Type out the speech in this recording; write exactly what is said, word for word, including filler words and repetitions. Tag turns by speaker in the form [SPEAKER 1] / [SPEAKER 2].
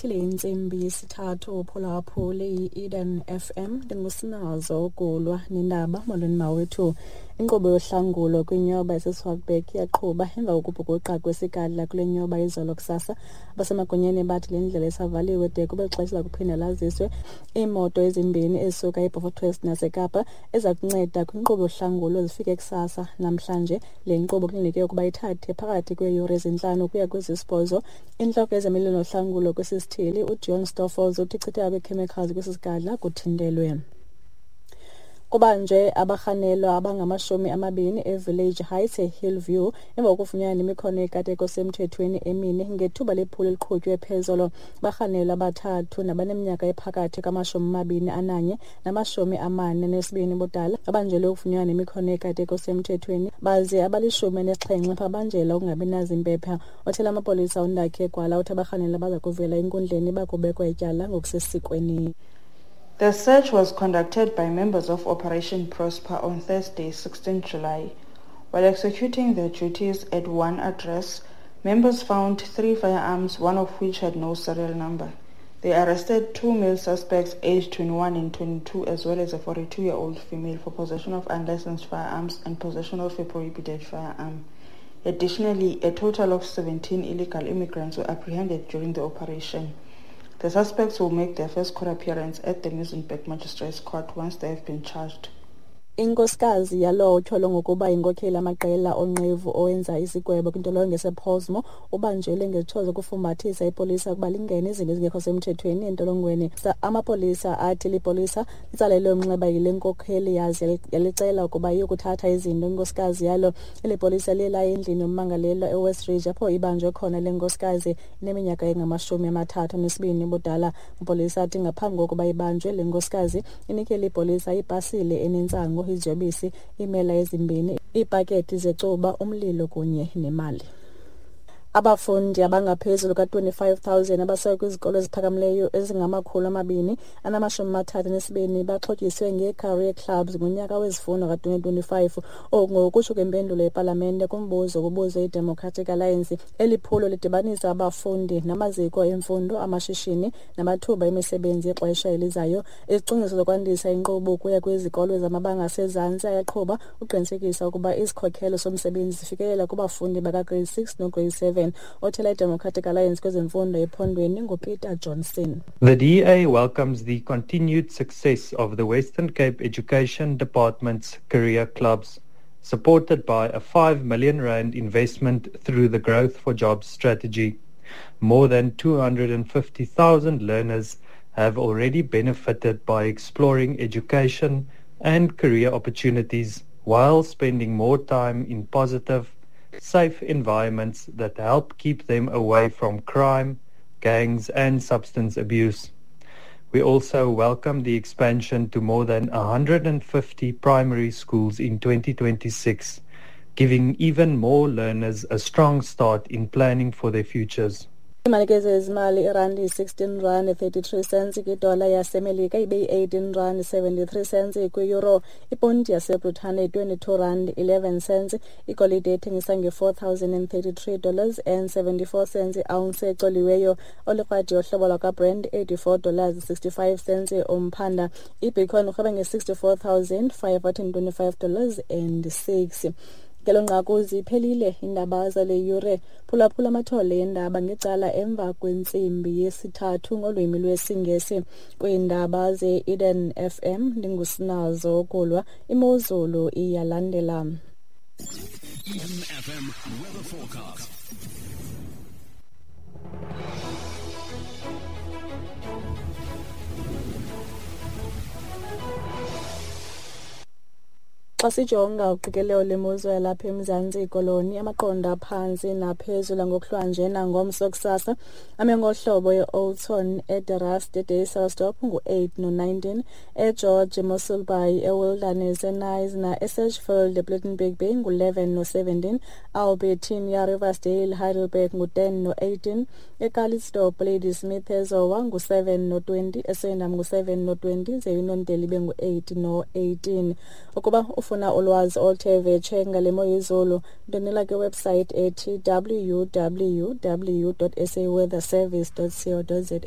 [SPEAKER 1] Ibethile intsimbi yesithathu uphulaphule i-Eden F M. Ndingusinazo Gulwa nendaba. Molweni mawethu. Inkqubo yohlangulo kwinyoba yaseSwartberg iyaqhuba emva kokubhukuqa kwesigadla kule nyoba izolo kusasa. Abasemagunyeni bathi le ndlela isavaliwe de kube xesha lakuphinda laziswe. Iimoto ezimbini ezisuka eBeaufort West naseKapa eza kunceda kwinkqubo yohlangulo zifike kusasa namhlanje. Le nkqubo kulindeleke ukuba ithathe phakathi kweeyure ezintlanu ukuya kwezisibhozo. Intloko yezemilo nohlangulo kwesi sithili uJohn Stoffels uthi ichitheka kwee-chemicals kwesi sigadla kuthintelwe. Kubanjwe abarhanelwa abangamashumi amabini eVillage Heights eHillview emva kokufunyanwa nemikhono yekateko semthethweni emine ngethuba lephulo eliqhutywe phezolo. Barhanelwa abathathu nabaneminyaka ephakathi kwamashumi amabini ananye namashumi amane nesibini budala babanjelwe ukufunyanwa nemikhono yekateko semthethweni, baze abalishumi elinesixhenxe babanjelwa ukungabi nazimpepha. Othela amapolisa uNdakhe Gwala uthi abarhanelwa baza kuvela enkundleni bakubekwa ityala ngokusesikweni.
[SPEAKER 2] The search was conducted by members of Operation Prosper on Thursday, sixteenth July. While executing their duties at one address, members found three firearms, one of which had no serial number. They arrested two male suspects aged twenty-one and twenty-two, as well as a forty-two-year-old female for possession of unlicensed firearms and possession of a prohibited firearm. Additionally, a total of seventeen illegal immigrants were apprehended during the operation. The suspects will make their first court appearance at the Muizenberg Magistrates Court once they have been charged.
[SPEAKER 1] Inkosikazi yalowo utyholwa ngokuba yinkokheli yamaqela onqevu owenza isigwebo kwintolongo yasePollsmoor ubanjelwe ngezitsho zokufumbathisa ipolisa ukuba lingene izinto ezingekho semthethweni entolongweni. Amapolisa athi lipolisa litsalelwe umnxeba yile nkokheli yaze yalicela ukuba iyokuthatha izinto inkosikazi yalo. Eli polisa liye laya endlini yommangalelwa eWest Ridge apho ibanjwe khona le nkosikazi ineminyaka engamashumi amathathu anesibini ubudala. Amapolisa athi ngaphambi kokuba ibanjwe le nkosikazi inikele ipolisa ipasile enentsangu, iziyobisi, iimela ezimbini, iipakethi zecuba, umlilo kunye nemali. Abafundi abangaphezulu ka-twenty-five thousand abasuka kwizikolo eziphakamileyo ezingamakhulu amabini anamashumi amathathu anesibini baxhotyiswe ngee-career clubs ngonyaka wezifundo ka-twenty twenty-five. Oku ngokutsho kwempendulo yepalamente kumbuzo obubuzwe yiDemocratic Alliance. Eli phulo lidibanisa abafundi namaziko emfundo, amashishini namathuba emisebenzi yexesha elizayo. Izicwangciso zokwandisa inkqubo ukuya kwizikolo zamabanga asezantsi ayaqhuba ukuqinisekisa ukuba izikhokelo somsebenzi zifikelela kubafundi baka-grade six no-grade seven. Othela iDemocratic Alliance kwezemfundo ephondweni nguPeter Johnson.
[SPEAKER 3] The D A welcomes the continued success of the Western Cape Education Department's career clubs, supported by a five million rand investment through the Growth for Jobs strategy. More than two hundred fifty thousand learners have already benefited by exploring education and career opportunities while spending more time in positive, safe environments that help keep them away from crime, gangs and substance abuse. We also welcome the expansion to more than one hundred fifty primary schools in twenty twenty-six, giving even more learners a strong start in planning for their futures.
[SPEAKER 1] Imali ke zezimali irandi sixteen rand thirty-three cents kwidola yaseMelika ibe yi-eighteen rand seventy-three cents kwi-euro. Iponti yaseBritane twenty-two rand eleven cents. Igolide ethengisa nge-four thousand and thirty-three dollars and seventy-four cents i-ounce ecoliweyo. Olikrwadi yohlobo lwakwaBrent eighty-four dollars sixty-five cents umphanda. Ibitcoin urhweba nge-sixty-four thousand five hundred and twenty-five dollars and six. Ngelo nqaku ziphelile iindaba zale yure. Phulaphula amathole eendaba ngecala emva kwentsimbi yesithathu ngolwimi lwesiNgesi. Kwiindaba ze-Eden F M ndingusinazo Gulwa. Imozulu iyalandela.
[SPEAKER 4] Eden F M weather forecast.
[SPEAKER 1] Xa sijonga uqikelelo lwemozulu yalapha eMzantsi Koloni, amaqondo aphantsi naphezulu ngokuhlwanje nangomso kusasa ame ngohlobo e-Oudtshoorn, eDerast, eDysselsdorp ngu-eight no-nineteen, eGeorge, eMossel Bay, eWilderness, eKnysna, eSedgefield, ePlettenberg Bay ngu-eleven no-seventeen, Albertinia, Riversdale, Heidelberg ngu-ten no-eighteen, eCalitzdorp, Ladysmith, eZowa ngu-seven no-twenty, eSwellendam ngu-seven no-twenty, ze-Uniondale ibe ngu-eight no-eighteen. Ukuba ufuna ufuna ulwazi oluthe vetshe ngale mo yezulu, ndonela kwiwebsite ethi w w w dot s a weather service dot co dot za.